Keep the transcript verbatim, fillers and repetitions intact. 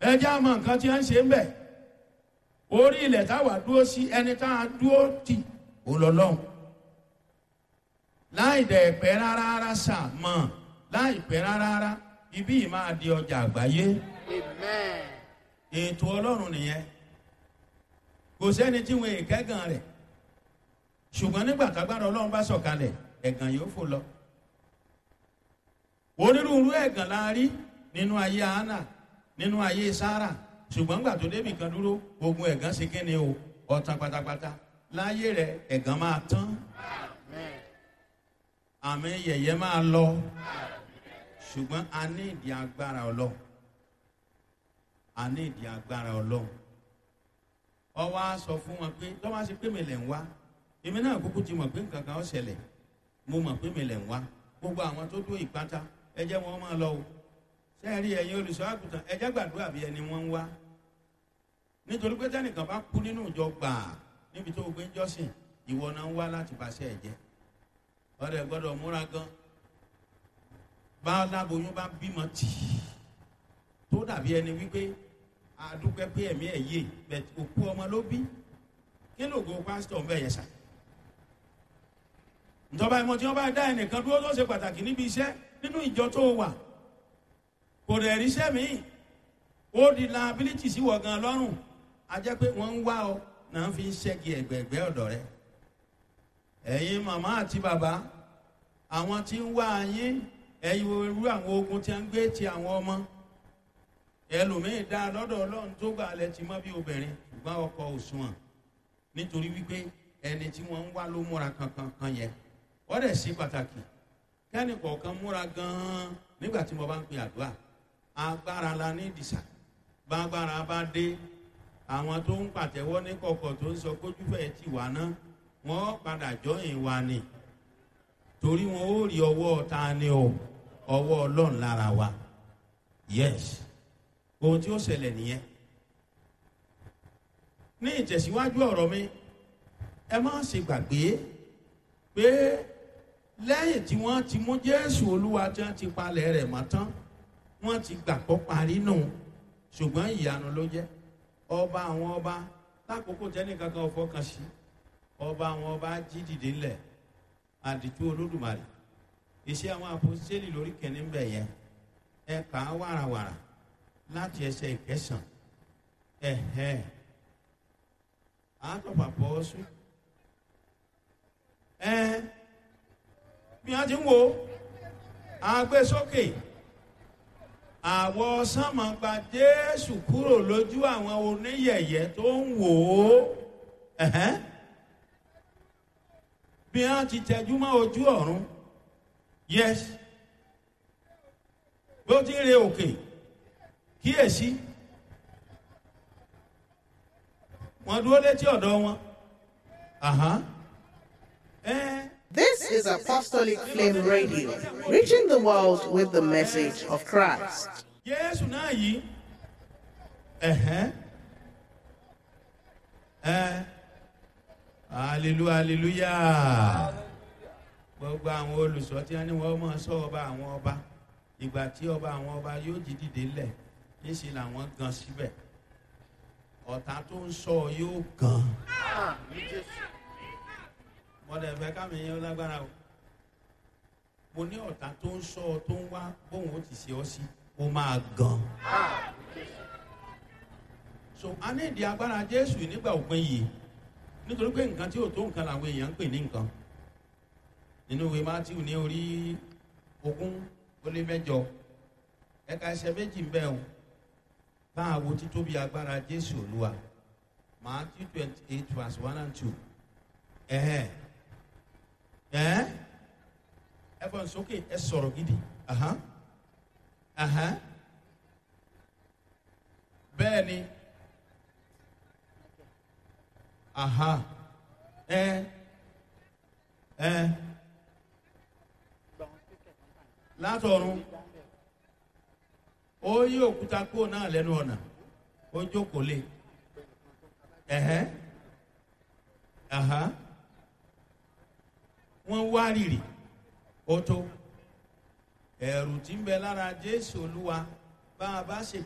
Ẹ jẹ́ àmọ́ nǹkan tí wọ́n ń ṣe ń bẹ̀. Orí ilẹ̀ táwa dúró sí, ẹni tá a dúró tì ó lọ lọ́hùn. Láì dẹ̀ pẹ́ rárá rárá sà mọ̀, láì pẹ́ rárá rárá, ibí yìí máa di ọjà àgbáyé. Amen. Ètò Ọlọ́run nìyẹn. Kò sẹ́ni tí wọn èkẹ́gàn rẹ̀, ṣùgbọ́n nígbà tágbára Ọlọ́run bá sọ̀kalẹ̀, ẹ̀gàn yóò fò lọ. Onírúurú ẹ̀gàn la rí nínú ayé Hánà, nínú ayé Sárà, ṣùgbọ́n gbà tó débì kan dúró, ogun ẹ̀gàn ṣe kíni o, ọ̀tàn pátápátá. Láyé rẹ̀, ẹ̀gàn máa tán. Amen. Àmì yẹ̀yẹ́ máa lọ, ṣùgbọ́n a ní ìdí agbára Ọlọ́run. A ní ìdí agbára Ọlọ́run. Ọwọ́ á sọ fún wọn pé tọ́wọ́ á ṣe pé mi lẹ̀ ń wá, èmi náà kúkú ti mọ̀ pé nǹkan kan ó ṣẹlẹ̀. Mo mọ̀ pé mi lẹ̀ ń wá. Gbogbo àwọn tó dúró ìpátá, ẹ jẹ́ wọn máa lọ o. Sẹ́ẹ̀rí ẹ̀yin olùṣọ́ àgùntàn, ẹ jẹ́ gbàdúrà bí ẹni wọ́n ń wá, nítorí pé tẹ́nìkan bá kú nínú ìjọ gbàá níbi tó o gbé ń jọ́sìn, ìwọ náà ń wá láti bàṣẹ ẹ̀ jẹ́. Ọ̀rẹ́ gbọ́dọ̀ múra gan. Bá láboyún bá bímọ tì í tó dàbí ẹni wípé àdúpẹ́ pé ẹ̀mí ẹ̀ yé bẹ̀, òkú ọmọ ló bí. Kí lóògùn pásítọ̀ ń bẹ̀ yẹn sà? Ìjọba ìmọ̀ tí wọ́n bá dá ẹnìkan dúró tó ṣe pàtàkì níbi iṣẹ́ nínú ìjọ tó wà, kò dẹ̀ ríṣẹ́ míì, ó di liability sí wọ̀ gan lọ́rùn. A jẹ́ pé wọ́n ń wá ọ náà fi ń ṣẹ́gi ẹ̀gbẹ̀ẹ̀gbẹ́ ọ̀dọ̀ rẹ. Ẹ̀yin màmá àti bàbá, àwọn tí ń wá yín, ẹ̀yin irú àwọn ogun tí a ń gbé ti àwọn ọmọ ẹlòmíín dá lọ́dọ̀ Ọlọ́run tó gbà lẹ ti mọ́ bí obìnrin, ṣùgbọ́n ọkọ òṣùwọ̀n, nítorí wípé ẹni tí wọ́n ń wá ló múra kankan kan yẹn. Wọ́n dẹ̀ sí pàtàkì kẹ́ni kọ̀ọ̀kan múra gan-an nígbà tí mo bá ń pe àdúrà. Agbára la ní ìdìsà. Bágbára bá dé, àwọn tó ń pàtẹ́wọ́ ní kọ̀kọ̀ tó ń sọ kójúfẹ́ ti wà náà, wọ́n padà jọyìn wa ni, torí wọn ó rí ọwọ́ ta ni o, ọwọ́ Ọlọ́run lára wa. Yes, ohun tí ó ṣẹlẹ̀ nìyẹn. Ní ìtẹ̀síwájú ọ̀rọ̀ mi, ẹ má ṣe gbàgbé pé lẹ́yìn tí wọ́n ti mú Jésù Olúwa tí wọ́n ti palẹ̀ rẹ̀ mọ́ tán, wọ́n ti gbàgbọ́ parí nù, ṣùgbọ́n ìyanu ló jẹ́. Ọba àwọn ọba, lákòókò tẹ́nìkankan ò fọkàn sí, ọba àwọn ọba jí dìde ńlẹ̀. Àdìtú Olódùmarè. Iṣẹ́ àwọn àpòsílẹ̀ lórí kẹ́ni ń bẹ̀ yẹn, ẹ kà á wàràwàrà láti ẹsẹ̀ ìkẹsàn. Ẹ̀hẹ́, àtọ̀pàpọ̀ ọ̀sùn ẹ bí wọ́n ti ń wo agbésókè àwọ̀ sánmọ̀ gba Jésù kúrò lójú àwọn oníyẹ̀yẹ́ tó ń wò ó. Ẹ̀hẹ́n, bí wọ́n ti tẹjú mọ́ ojú ọ̀run. Yes, bó ti ń re òkè, kíyèsí, wọ́n dúró létí ọ̀dọ̀ wọn. Àhán. Ẹ. This is Apostolic Flame Radio, reaching the world with the message of Christ. Jésù náà yìí, ẹ̀hẹ́n, ẹ hallelujah, hallelujah. Gbogbo àwọn olùsọ tí wọ́n ní wọ́n máa sọ ọba àwọn ọba, ìgbà tí ọba àwọn ọba yóò jí dìde ńlẹ̀, níṣẹ́ làwọn gan síbẹ̀. Ọ̀tá tó ń sọ yóò gan. Mọ̀dẹ̀ fẹ́ kámi yẹn lágbára o. Mo ní ọ̀tá tó ń sọ ọ, tó ń wá bóun ó ti ṣe ọ sí, ó máa gan. So a ní ìdí agbára Jésù nígbà òpin yìí, nítorí pé nǹkan tí ò tó nǹkan làwọn èèyàn ń pè ní nǹkan. Nínú ìwé Mátíù ní orí ogún ó lé mẹ́jọ, ẹ̀ka ẹsẹ̀ méjì ń bẹ o. Bá a wo títóbi agbára Jésù Olúwa. Matthew twenty eight verse one and two. Ẹ̀hẹ́n, ẹ̀ ẹ fọ́n sókè, ẹ sọ̀rọ̀ gidi. Ahan, ahan, bẹ́ẹ̀ ni. Aha, ẹ ẹ látọ̀run ó yí òkúta kúrò náà lẹ́nu ọ̀nà, ó jókòó lé. Ẹ̀hẹ́n, aha, wọ́n wá rìrì. Ó tó ẹ̀rù tí ń bẹ lára Jésù Olúwa bá a bá ṣe.